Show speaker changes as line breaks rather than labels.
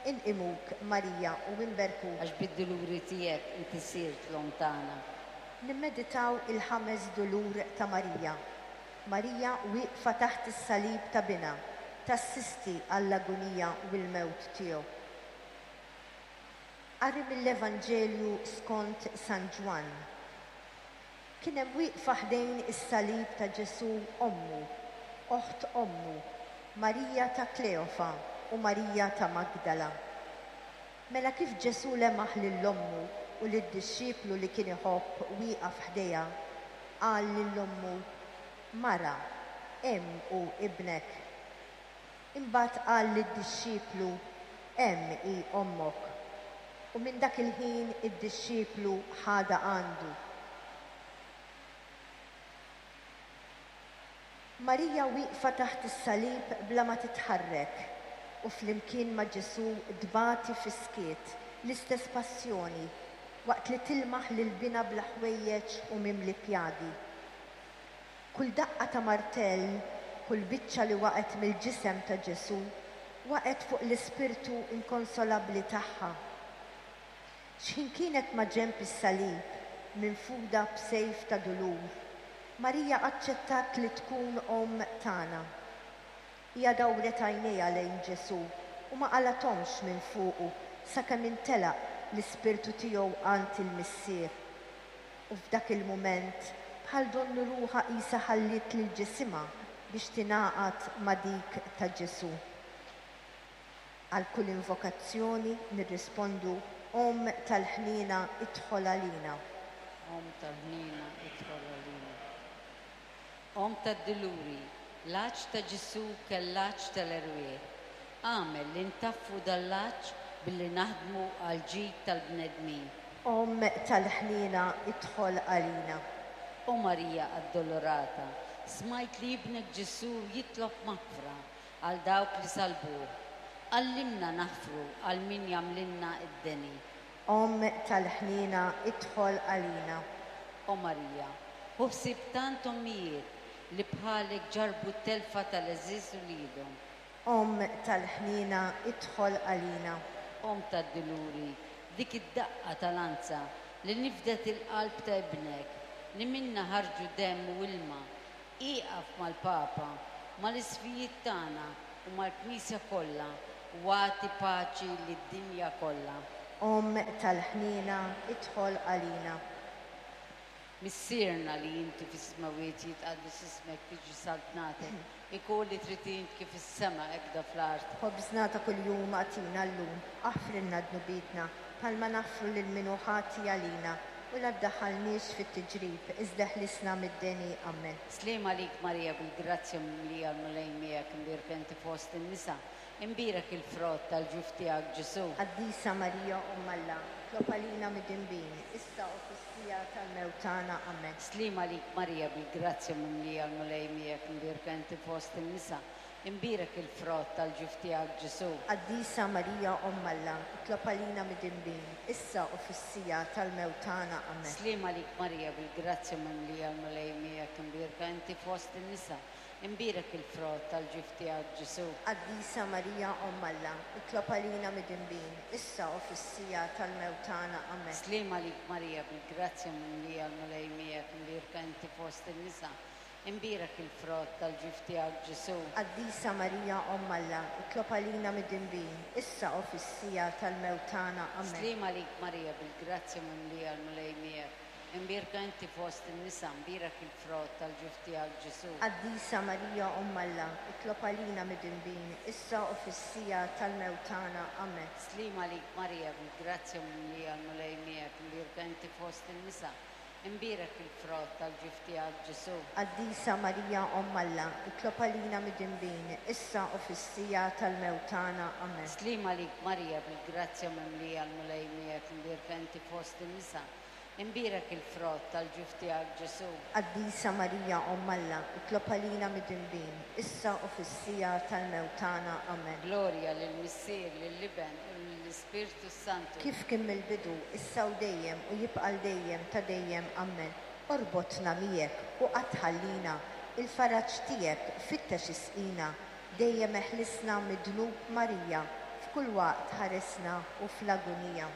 Inqimuk, Marija, u inberkuk.
Għax bid-duluri tiegħek inti sirt l-Omm tagħna.
Nimmeditaw il-ħames dulur ta' Marija. Marija wieqfa taħt is-salib ta' Binha, tassisti għall-agunija u l-mewt tiegħu. Qari mill-Evanġelju skont San Ġwann. Kien hemm wieqfa ħdejn is-salib ta' Ġesù ommu, oħt ommu, Marija ta' Kleofa u Marija ta' Magdala. Mela kif Ġesù lemaħ lil ommu u lid-dixxiplu li kien iħobb wieqaf ħdejha, qal lil ommu, Mara, hemm hu ibnek. Imbagħad qal lid-dixxiplu, Hemm hi ommok. U minn dak il-ħin id-dixxiplu ħadha għandu. Marija wieqfa taħt is-salib bla ma titħarrek u flimkien ma' Ġesù tbati fis-skiet l-istess passjoni waqt li tilmaħ lil binha bla ħwejjeġ u mimli pjagi. Kull daqqa ta' martell, kull biċċa li waqgħet mill-ġisem ta' Ġesù, waqgħet fuq l-ispirtu inkonsolabbli tagħha. X'ħin kienet maġenb is-salib, minfuda b'sejf ta' dulur, Marija aċċettat li tkun Omm tagħna. Hija dawret għajnejha lejn Ġesù u ma qalgħathomx minn fuqu sakemm intelaq l-ispirtu tiegħu għand il-Missier. U f'dak il-mument bħal donnu ruħha qisha ħalliet lil ġisimha biex tingħaqad ma' dik ta' Ġesù. Għal kull invokazzjoni nirrispondu, Omm tal-ħniena idħol għalina.
Omm tal-ħniena idħol għalina. Omm tad-duluri, l-għatx ta' Ġesù kell l-għatx tal-erwieħ. Agħmel li ntaffu dan l-għatx billi naħdmu għall-ġid tal-bnedmin.
Omm tal-ħniena idħol għalina.
O Marija Addolorata, smajt li Ibnek Ġesù jitlob maħfra għal dawk li sallbuh. Għallimna naħfru għal min jagħmlilna d-deni.
Omm tal-ħniena idħol għalina.
O Marija, ħu ħsieb tant ommijiet li bħalek ġarrbu t-telfa tal-għeżież uliedhom.
Omm tal-ħniena idħol għalina.
Omm tad-duluri, dik id-daqqa ta' lanza li nifdet il-qalb ta' Ibnek, li minnha ħarġu demm u ilma, ieqaf mal-Papa, mal-Isqfijiet tagħna u mal-Knisja kollha u agħti paċi lid-dinja kollha.
Omm tal-ħniena idħol għalina.
Missierna li inti fis-smewwiet jitqaddes ismek tiġi saltnatek, ikun li trid int kif fis-sema hekda fl-art.
Ħobżna ta' kuljum agħtina llum, aħfrilna dnubietna, bħalma naħfru lil min hu ħati għalina, u la ddaħħalniex fit-tiġrib, iżda eħlisna mid-deni. Ammen.
Sliem għalik Marija bil-grazzja mimlija l-Mulej miegħek imbierka inti fost in-nisa, imbierek il-frott tal-ġuf tiegħek Ġesù.
Qaddisa Marija Omm Alla, itlob għalina midinbin, issa u fis-siegħa tal-mewt tagħna. Ammen.
Sliem għalik Marija bil-grazzja mimlija l-Mulej miegħek imbierka inti fost in-nisa, imbierek il-frott tal-ġuf tiegħek Ġesù.
Qaddisa Marija Omm Alla, itlob għalina midinbin, issa u fis-siegħa tal-mewt tagħna. Ammen.
Sliem għalik Marija bil-grazzja mimlija l-Mulej miegħek imbierka inti fost in-nisa, imbierek il-frott tal-ġuf tiegħek Ġesù.
Qaddisa Marija Omm Alla, itlob għalina midinbin, issa u fis-siegħa tal-mewt tagħna. Ammen.
Sliem għalik Marija bil-grazzja mimlija l-Mulej miegħek imbierka inti fost in-nisa, imbierek il-frott tal-ġuf tiegħek Ġesù.
Qaddisa Marija Omm Alla, itlob għalina midinbin, issa u fis-siegħa tal-mewt tagħna. Ammen.
Sliem għalik Marija bil-grazzja mimlija l-Mulej miegħek, imbierka inti fost in-nisa, imbierek il-frott tal-ġuf tiegħek Ġesù.
Qaddisa Marija Omm Alla, itlob għalina midinbin, issa u fis-siegħa tal-mewt tagħna. Ammen.
Sliem għalik Marija bil-grazzja mimlija l-Mulej miegħek, imbierka inti fost in-nisa, imbierek il-frott tal-ġuf tiegħek Ġesù.
Qaddisa Marija Omm Alla, itlob għalina midinbin, issa u fis-siegħa tal-mewt tagħna. Ammen.
Sliem għalik Marija bil-grazzja mimlija l-Mulej miegħek, imbierka inti fost in-nisa, imbierek il-frott tal-ġuf tiegħek Ġesù.
Qaddisa Marija Omm Alla, itlob għalina midinbin, issa u fis-siegħa tal-mewt tagħna. Ammen.
Glorja lill-Missier, lill-Iben u lill-Ispirtu s-Santu.
Kif kien mill-bidu, issa u dejjem u jibqa' 'l dejjem ta' dejjem. Ammen. Orbotna miegħek u qatt tħallina, il-faraġ tiegħek fittex isqina, dejjem eħlisna mid-dnub Marija. F'kull waqt ħarisna u fl-agunija.